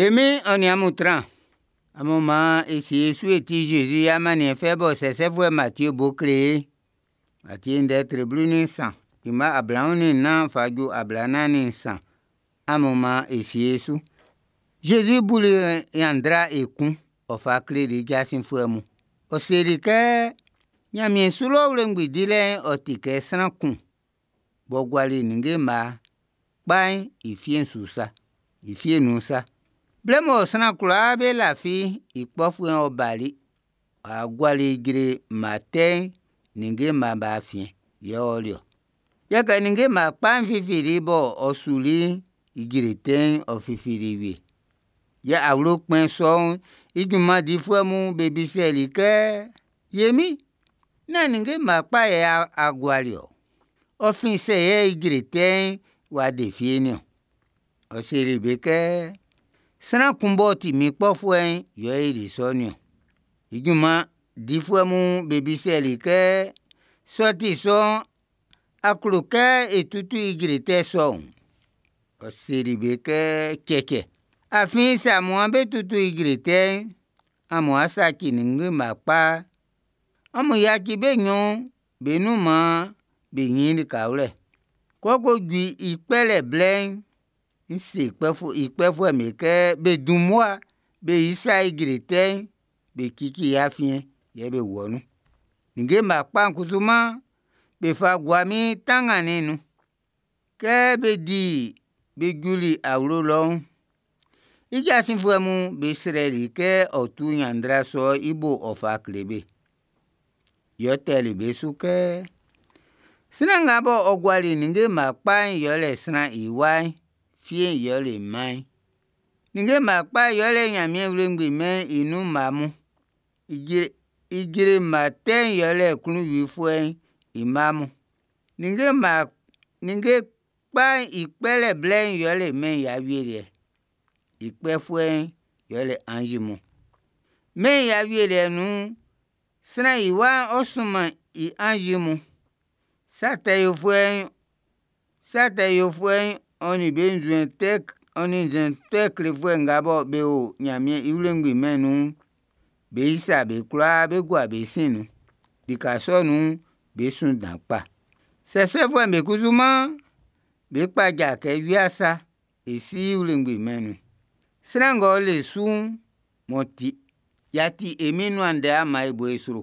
E Min'n ɔ nin amun tran. Amun maan e sie e su e tie Zezi i amanniɛn fɛ bɔ sɛsɛfuɛ Matie bo kle e'n. Matie ndɛ tre 13, i mma 24 fa ju 43. Amun maan e sie e su. Zezi buli ɲanndra ekun, ɔ fa kleli i jasin fuɛ mun. Ɔ seli kɛ, Ɲanmiɛn su lɔ wlengbi dilɛ'n ɔ ti kɛ sran kun b'ɔ guali ninnge mma kpa'n i fie'n su sa, i fie'n nun sa. Blɛ mɔ sran kwlaa be lafi'n, i kpɔfuɛ'n ɔ bali, ɔ wa guali ijre mma tɛ'n ninnge mma'm be afiɛn, yɛ ɔ ɔli ɔ. Yɛ kɛ ninnge mma kpa'n fifili bɔ ɔ suli'n, ijre tɛ'n ɔ fifili wie. Yɛ awlo kpɛn sɔ'n i junman difuɛ mun be bisɛli i kɛ: “Ye min, nán ninnge mma kpa yɛ a guali ɔ? Ɔ fin sɛ yɛ ijre tɛ'n w'a de fie'n niɔn?” Ɔ seli be kɛ: “Sran kun b'ɔ ti min kpɔfuɛ'n yɛ ɔ yoli sɔ nin-ɔn.” I junman difuɛ mun be bisɛli i kɛ: “Sɛ ɔ ti sɔ'n, a klo kɛ e tutu ijre tɛ sɔ'n?” Ɔ seli be kɛ: “Cɛcɛ, afin sɛ amu'an be tutu ijre tɛ'n, amun saci ninnge mma kpa'n. Amun yaci be nɲɔn'n be nun maan be ɲin likawlɛ. Kɛ ɔ ko ju i kpɛlɛ blɛ'n, ń sé i kpɛfuɛ'm be kɛ be dun mmua be isa ijre tɛ'n, be cici i afiɛn, yɛ be wɔ nun. Ninnge mma kpa'n kusu'n, be fa gua min tanngannin'n nun.” Kɛ be di be juli awlo lɔ'n, i jasin fuɛ mun be srɛli i kɛ ɔ tu ɲanndra sɔ'n i bo ɔ fa kle be. Yɛ ɔ tɛli be su kɛ: Sran nga bɔ ɔ guali ninnge mma kpa'n yɛle Sran i Wa'n, fie'n yɛle mma'n. Ninnge mma kpa'n yɛle Ɲanmiɛn i wlengbi mɛn'n i nun mma mun. Ijre mma tɛ'n yɛle Klunwifuɛ'n i mma mun. Ninnge kpa'n i kpɛlɛ blɛ'n yɛle mɛn'n i awieliɛ'n. I kpɛfuɛ yɛle anzi mun. Mɛn'n i awieliɛ nun'n, Sran i Wa'n ɔ́ súnmɛn i anzi mun. Sa tɛ yofuɛ'n ɔ nin be nzuɛn tɛ klefuɛ nga bɔ be o Nyanmiɛn i wlengbi mɛn'n nun'n, bé ísa be kwlaa bé gúa be sin'n nun. Lika sɔ'n nun'n, bé sún dan kpa. Sɛsɛfuɛ'm be kusuman, bé kpája kɛ wia sa e Si i wlengbi mɛn'n nun. Sran ng'ɔ le su'n, m'ɔ ti'n, y'a ti e Min'n i nuan ndɛ'n, an maan e bo i sro.